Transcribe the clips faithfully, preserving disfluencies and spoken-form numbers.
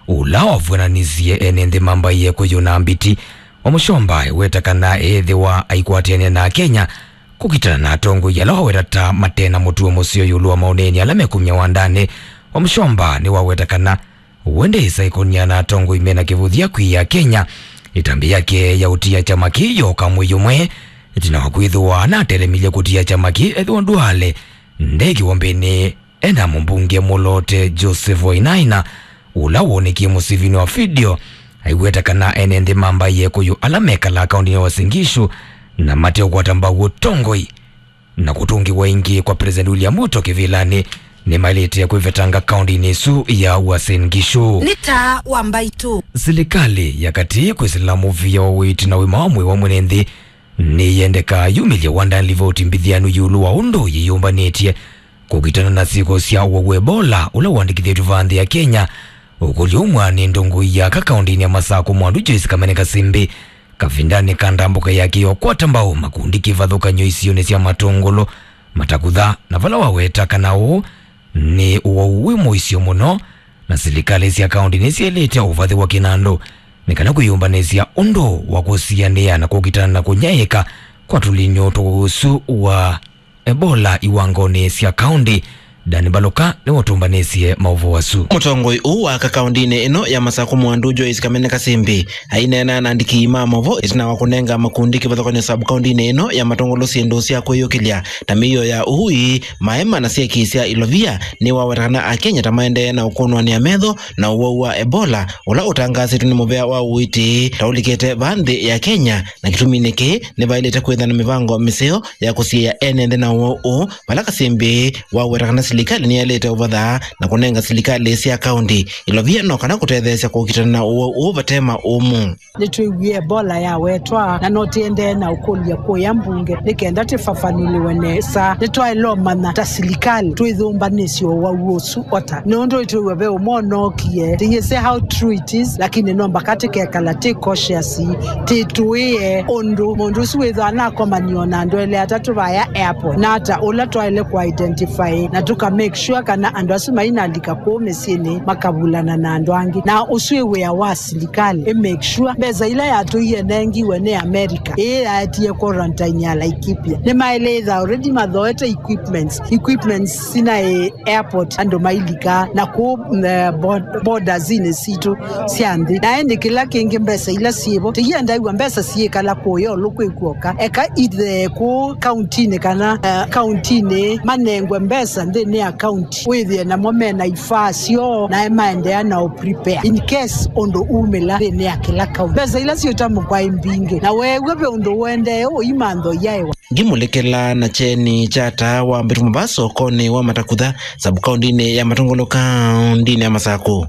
Ũla wavw'ananisye ene nthĩ mambaie kũyũna mbiti wa Mũchomba eweta kana ethĩwa aikwatene na Akenya kũkitana na atongoi ala waweta ta mate na mũtuo mũseo ĩũlũ wa maũneeni ala mekumya wandanĩ. Wa Mũchomba nĩwaweta kana wende ĩsaĩkonia na atongoi mena kĩvũthya kwĩ Akenya. Ĩtambya yake ya ũtia kyama kĩĩ yoka mwei ũmwe ĩtina wa kwĩthĩwa anatelemilye kũtia kyama kĩĩ ethĩwa Duale nde kĩwombeni ena mũmbunge mũloote Joseph Wainaina, ũla wonekie mũsivinĩ wa video, aiweta kana ene nthĩ mambaie kũyũ ala mekalaa kaũndĩnĩ ya Uasin Gishu na mate ũkwata mbau ũtongoi na kũtũngĩwa ĩngĩ kwa President William Ruto kĩvĩlanĩ nĩmaĩlĩte kwĩvetanga kaũndĩnĩ ĩsu ya Uasin Gishu. Nĩ taa wa mbaitũ. Silikalĩ ya katĩ kwĩsĩla mũvĩa wa ũiiti na ũima wa mwĩĩ wa mwene nthĩ nĩyendeka yumĩlye wandanĩ livoti mbithĩanu ĩũlũ wa ũndũ yĩyũmbanĩtye kũkitana na syĩko sya ũwau wa Ebola ũla ũandĩkĩthĩtw'e vaa nthĩ ya Kenya. Ũkũlyo umwa nĩ ndongoi ya aka kaũndĩnĩ ya Masakũ Mwandu Joyce Kamene Kasimbi kavindanĩ ka ndambũka yake ya ũkwata mbau makundi kĩvathũkany'o isionĩ sya Matũngũlũ, Matakutha, na vala waweta kana ũũ nĩ ũwau wĩ mũisyo mũno, na silikalĩ sya kaũndĩ nĩsyaĩlĩte ũvathĩwa kĩnandũ nĩ kana kwĩyũmbanĩsya ũndũ wa kũsianĩa na kũkitana na kũnyaĩĩka kwa tũlinyũ twa ũwau ũsu wa Ebola iwangonĩ sya kaũndĩ. Dan Mbaluka nĩwe ũtũmbanĩsye maũvoo asu. Mũtongoi ũũ wa aka kaũndĩnĩ ĩno ya Masakũ Mwandu Joyce Kamene Kasimbi aineena na andĩki ma maũvoo ĩtina wa kũnenga makundi kĩvathũkany'o sub kaũndĩnĩ ĩno ya Matũngũlũ syĩndũ sya kwĩyũkĩlya ta mĩio ya ũui, maema na syeki sya ilovia. Nĩwaweta kana Akenya ta maendee na ũkũnwanĩa metho na ũwau wa Ebola ũla ũtangaasĩtwe nĩ mũvĩa wa ũiiti ta ũlikĩte vaa nthĩ ya Kenya, na kĩtuminĩ kĩĩ nĩvaĩlĩte kwĩtha na mĩvango mĩseo ya kũsiĩĩa ene nthĩ na ũwau ũũ, vala Kasimbi waweta kana silikalĩ nĩyaĩlĩte ũvatha na kũnenga silikalĩ sya kaũndĩ ilovia no kana kũtetheesya kũkitana na ũwau ũũ vate maũmũ. Nĩtwĩwie Ebola yawetwa, na no tĩendee na ũkũlya kũya mbunge nĩ kenda tĩvavanũlĩwe nesa. Nĩtwaĩle ũmanya ta silikalĩ twĩyũmbanĩsye ũwau ũsu ota, nũndũ nĩtwĩw'a ve ũmwe ũnookie. Tĩyĩsĩ how true it is, lakini no mbaka tĩkekala tĩ cautious, tĩtũĩe ũndũ mũndũ ũsu wĩthwa anakomanio na andũ elĩ atatũ vaya airport, na ata ũla twaĩle kũ identify na tũka make sure kana andũ asu mainalika kũu mĩsyĩnĩ makavulana na andũ angĩ. Na ũsu wĩ wĩa wa silikalĩ ĩ make sure mbesa ila yatũie nengiwe nĩ America, ĩĩ yaetie quarantine ya Laikipia, nĩmaĩlĩtha already mathoete equipments, equipments sinaĩ airport andũ mailika na kũu, eh, bod-, bordersinĩ sitũ sya nthĩ. Na ĩndĩ kĩla kĩngĩ mbesa ila syĩvo, tĩiendaĩw'a mbesa syĩkala kũya ũlũ kwĩ kuoka. Eka ithee kũu kauntinĩ kana, eh, kauntinĩ manengwe mbesa nthĩnĩ ya kaunti, wĩthĩe namo mena ifaa syoo, nae maendeea na ũ prepare in case ũndũ umĩla nthĩnĩ ya kĩla kaunti. Mbesa ila syĩtamũkwa ĩ mbingĩ, na weew'a ve ũndũ ũendee ũimantho yaĩwa. Ngimũlĩkĩla na kyeni kya taa wa mbĩtũmo vaa sokonĩ wa Matakutha, sub-kaũndĩnĩ ya Matũngũlũ, kaũndĩnĩ ya Masakũ.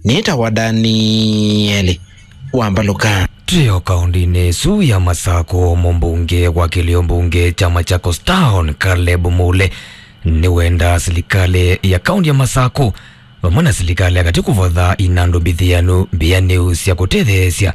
Nĩtawa Danieli wa Mbaluka. Twĩ o kaũndĩnĩ ĩsu ya Masakũ, mũmbunge wa kĩlĩo mbunge kya Machakos Town, Caleb Mule, nĩwenda silikalĩ ya kaũndĩ ya Masakũ vamwe na silikalĩ ya katĩ kũvatha inandũ mbithĩanu mbĩanĩu sya kũtetheesya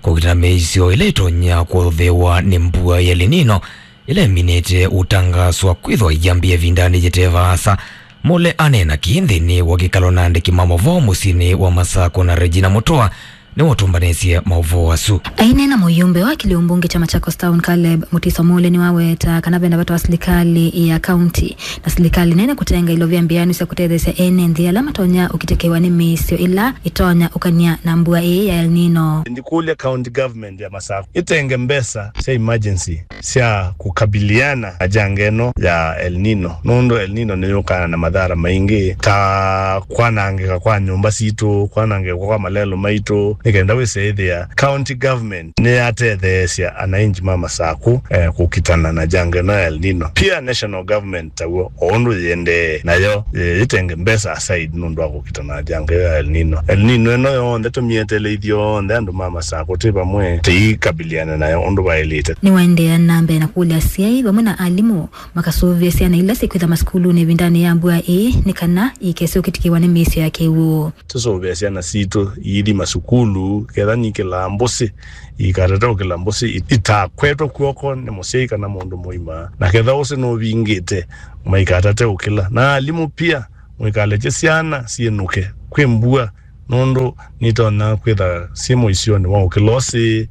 kũkitana mĩisyo ĩla ĩtonya kũthĩwa nĩ mbua ya El Nino ĩla ĩminĩte ũtangaaswa kwĩthwa yambĩĩa ĩvindanĩ yĩte vaasa. Mule aneena kĩĩ nthĩnĩ wa kĩkalo na andĩki ma maũvoo mũsyĩnĩ wa Masakũ, na Regina Mutua nĩwe ũtũmbanĩsye maũvoo asu. Aineena mũyũmbe wa kĩlĩo mbunge kya Machakos Town, Caleb Mutiso Mule, nĩwaweta kana vena vata wa silikalĩ ya kaunti na silikalĩ nene kũtenga ilovia mbĩanu sya kũtetheesya ene nthĩ ala matonya ũkitĩkĩwa nĩ mĩisyo ĩla ĩtonya ũkany'a na mbua ĩĩ ya El Nino. Ndikũlya county government ya Masakũ ĩtenge mbesa sya emergency sya kũkabiliana na janga ĩno ya El Nino, nũndũ El Nino nĩyũkaa na mathara maingĩ ta kwanangĩka kwa nyũmba sitũ, kwanangĩka kwa malelũ maitũ, nĩ kenda wĩse ĩthĩa county government nĩyatetheesya anainji ma Masakũ, eh, kũkitana na janga ĩno ya El Nino. Pia national government taw'o, o ũndũ yĩendee, nayo, eh, yĩtenge mbesa aside nũndũ wa kũkitana na janga ĩyo ya El Nino. El Nino ĩno yonthe tũmĩeteele ithyonthe andũ ma Masakũ twĩ vamwe tũikabiliane nayo ũndũ vaĩlĩte. Nĩwaendeea na mbee na kũlya asyai vamwe na alimũ makasũvĩe syana ila syĩkwĩtha masukulunĩ ĩvindanĩ ya mbua ĩĩ nĩ kana ikese ũkitĩkĩwa nĩ mĩisyo ya kĩw'ũ. Tũsũvĩe syana sitũ iithi masukulu, ketha nikĩlaa mbũsĩ, ikatate ũkĩla mbũsĩ, i-, itakwetwe kw'oko nĩ mũsyai kana mũndũ mũima. Na ketha ũsĩ nũvingĩte, maikatate ũkĩla. Na alimũ pia, mũikalekye syana syĩnũke. Kwĩ mbua, nũndũ nitonya kwĩtha syĩ mũisyonĩ wa ũkĩla ũsĩ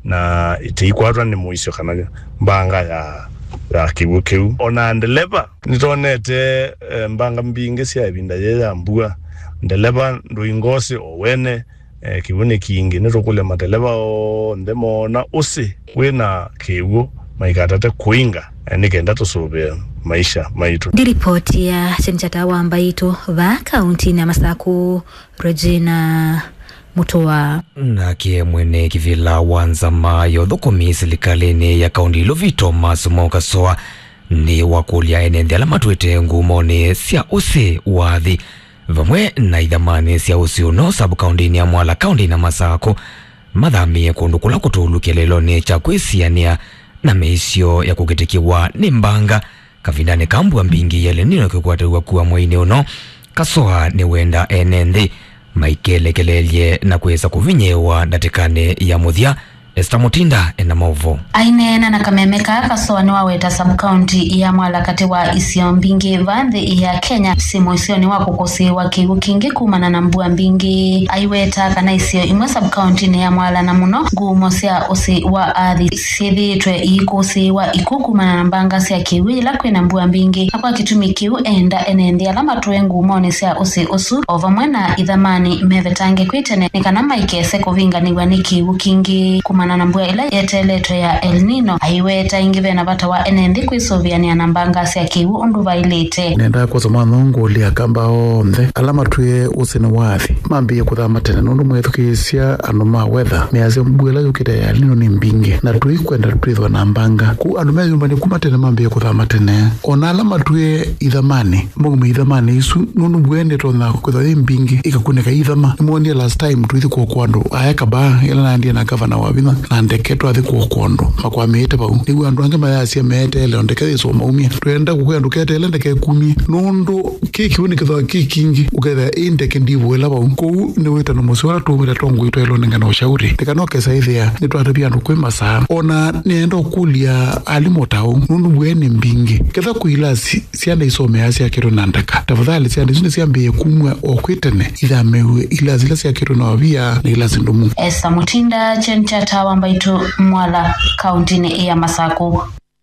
na itiikwatwa nĩ mũisyo kana mbanga ya, ya kĩw'ũ kĩu. O na ndeleva, nĩtonete, eh, mbanga mbingĩ sya ĩvinda yĩĩ ya mbua. Ndeleva ndũinga ũsĩ o wene, eh, kĩw'ũ nĩ kingĩ. Nĩtũkũlya mateleva onthe moona ũsĩ kwĩna kĩw'ũ maikatate kũinga, eh, nĩ kenda tũsũvĩe maisha maitũ. Ndi ripoti ya Chenchata wa Mbaitũ vaa kauntinĩ ya Masaku, Regina Mutua. Nake mwene kĩvĩla wa nzama ya ũthũkũmi silikalĩnĩ ya kaunti Ilovi, Thomas Mwaũ Kasoa, nĩ wakũlya ene nthĩ ala matwĩte ngumonĩ sya ũsĩ wa athi vamwe na ithamanĩ sya ũsĩ ũno sub-kauntinĩ ya Mwala, kauntinĩ ya Masaku, mathamĩe kũndũ kũla kũtũlu kĩeleelonĩ kya kwĩsianĩa na mĩisyo ya kũkĩtĩkĩwa nĩ mbanga kavindanĩ ka mbua mbingĩ ya El Nino kĩkwatĩw'a kua mweinĩ ũno. Kasoa nĩwenda ene nthĩ maikelekeleelye na kwĩsa kũvinyĩĩwa ndatĩkanĩ ya mũthya. Esther Mutinda ena maũvoo. Aineena na kameme kaa, Kasoa nĩwaweta sub-county ya Mwala katĩ wa isio mbingĩ va nthĩ ya Kenya syĩ mũisyonĩ wa kũkũsĩĩwa kĩw'ũ kingĩ kumana na mbua mbingĩ. Aiweta kana isio imwe sub-county-nĩ ya Mwala, na mũno ngumo sya ũsĩ wa athi, syĩthĩĩtwe iikũsĩĩwa ikw'ũ kumana na mbanga sya kĩw'ũ yĩla kwĩna mbua mbingĩ, na kwa kĩtumi kĩu eenda ene nthĩ ala matũe ngumonĩ sya ũsĩ ũsu o vamwe na ithamanĩ mevetange kwĩ tene nĩ kana maikese kũvinganĩw'a nĩ kĩw'ũ kingĩ kumana na mbua ĩla yeteeletwe ya El Nino. Aiweta ĩngĩ ve na vata wa ene nthĩ kwĩsũvĩanĩa na mbanga sya kĩw'ũ ũndũ vaĩlĩte. Nendaa kwosa mwana ũũ ngũlya Akamba onthe ala matwĩe ũsĩ nĩ wa athi mambĩĩe kũthama tene, nũndũ mwethukĩĩsya andũ ma weather measya mbua ĩla yũkĩte ya El Nino nĩ mbingĩ, na tũikwenda twĩthwa na mbanga. Kwoou andũ meyũmbany'a kuma tene mambĩĩe kũthama tene. O na ala matwĩe ithamanĩ, maume ithamanĩ isu, nũndũ mbua ĩndĩ ĩtonya kwĩthwa yĩ mbingĩ ĩkakunĩka ithama. Nĩmwonie last time tũithi kũokoa andũ aya Kabaa, ĩla naendie na gavana wa vinya na ndeke twathi kũokoa andũ makwamĩĩte vau. Nĩw'o andũ angĩ mayasya meeteele o ndeke yĩsũmaumya. Twenda kũkwĩa ndũketeele ndeke ĩkumye, nũndũ kĩ kĩw'ũ nĩkĩthwa kĩ kingĩ, ũkethĩa ĩ ndeke ndivũĩla vau. Kwoou nĩ wĩtano mũseo ũla tũũmĩte tongoi twaĩlwe nengana ũshauri. Nĩ kana ũkesa ĩthĩa nĩtwatavya andũ kwĩ masaa. O na nĩenda ũkũlya alimũ ta ũu, nũndũ mbua nĩ mbingĩ. Ketha kwĩ ilasi syana isomeaa syakĩtwe na ndaka, tafadhali syana isu nĩsyambĩĩe kumw'a o kwĩ tene, ithamĩw'e ilasi ila syakĩtwe na wavia na ilasi ndũmu. Esther Mutinda, Chen Chata wa Mbaitũ, Mwala, kauntinĩ ya Masaku.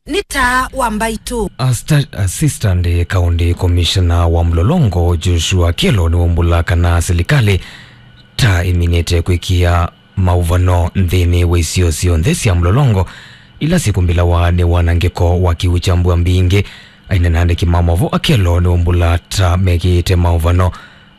Nĩ taa wa Mbaitũ. Asta-, Assistant County Commissioner wa Mlolongo, Joshua Kyelo, nĩwaumbũla kana silikalĩ ta ĩminĩte kwĩkĩa maũvano nthĩnĩ wa isio syonthe sya Mlolongo ila syĩkumbĩlawa nĩ wanangĩko wa kĩw'ũ kya mbua mbingĩ. Aineena na andĩki ma maũvoo, Akello nĩwaumbũla ta mekĩĩte maũvano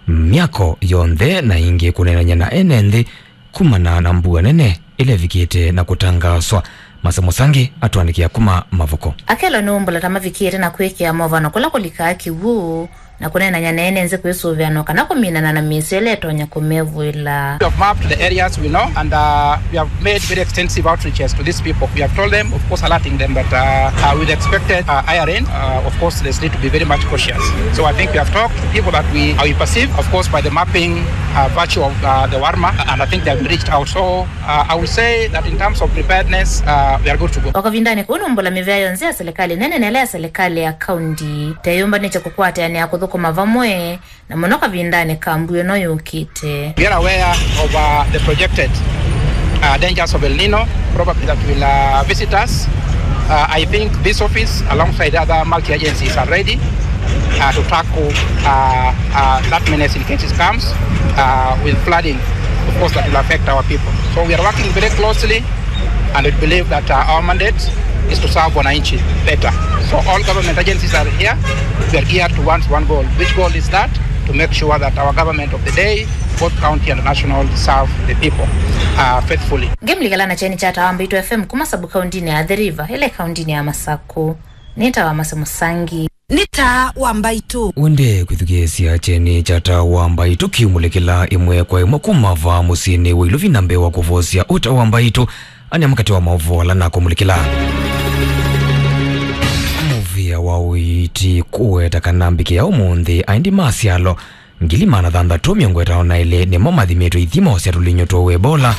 myako yonthe na ĩngĩ kũneenany'a na ene nthĩ kumana na mbua nene ĩla ĩvikĩte na kũtangaaswa. Mase Mũsangi atũandĩkĩa kuma Mavuko. Akello nĩwaumbũla ta mavikĩte na kwĩkĩa maũvano kũla kũlikaa kĩw'ũ na kũneenany'a na ene nthĩ kwĩsũvĩanwa kana kũminana na mĩisyo ĩla ĩtonya kũmevũĩla. We have mapped the areas we know and, uh, we have made very extensive outreaches to these people. We have told them, of course, alerting them that, uh, uh, with expected, uh, higher rain, uh, of course, there's need to be very much cautious. So I think we have talked to people that we, uh, we perceive, of course, by the mapping, uh, virtue of, uh, the WARMA, and I think they have reached out. So Uh, I will say that in terms of preparedness, uh, we are good to go. O kavindanĩ kau nũmbũla mĩvĩa yonthe ya silikalĩ nene na ĩla ya silikalĩ ya kaunti ta ĩyũmbanĩtye kũkwatĩanĩa kũthũkũma vamwe, na mũno kavindanĩ ka mbua ĩno yũkĩte. We are aware of, uh, the projected, uh, dangers of El Nino, probably that will, uh, visit us. Uh, I think this office, alongside other multi-agencies, are ready, uh, to tackle, uh, uh, that menace in case it comes, uh, with flooding, of course, that will affect our people. So we are working very closely, and we believe that, uh, our mandate is to serve wananchi better. So all government agencies are here. We are geared towards one goal. Which goal is that? To make sure that our government of the day, both county and national, serve the people, uh, faithfully. Ngĩmlikala na kyeni kya Tawa Mbaitũ F M kuma sub-kauntinĩ ya Athi River, ĩla ĩ kauntinĩ ya Masaku. Nĩ Tawa Mase Mũsangi. Nĩ Taa wa Mbaitũ. Ũendee kwĩthukĩĩsya kyeni kya Taa wa Mbaitũ kiumũlĩkĩla ĩmwe kwa ĩmwe kuma vaa mũsyĩnĩ wa Ilovi na mbee wa kũvosya ũta wa mbaitũ, anĩa mũkate wa maũvoo ala nakũmũlĩkĩla. Mũvĩa wa ũiiti kũweta kana mbikĩ ya ũmũnthĩ aendi ma syalo ngili maana thanthatũ mĩongo ĩtano na elĩ nĩmo mathimĩtwe ithimo sya tũlinyũ twa Ebola.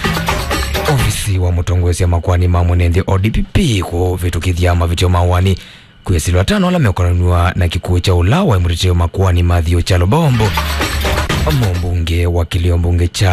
Ovisi wa mũtongoesya makoani ma mwene nthĩ, O D P P, kũvĩtũkĩthya mavĩtyo ma wani kwĩsĩlwa atano ala mekonanw'a na kĩkw'ũ kya ũla waĩ mũtetei wa makoani Matthew Kyalo Bombo. Mũmbunge wa kĩlio mbunge kya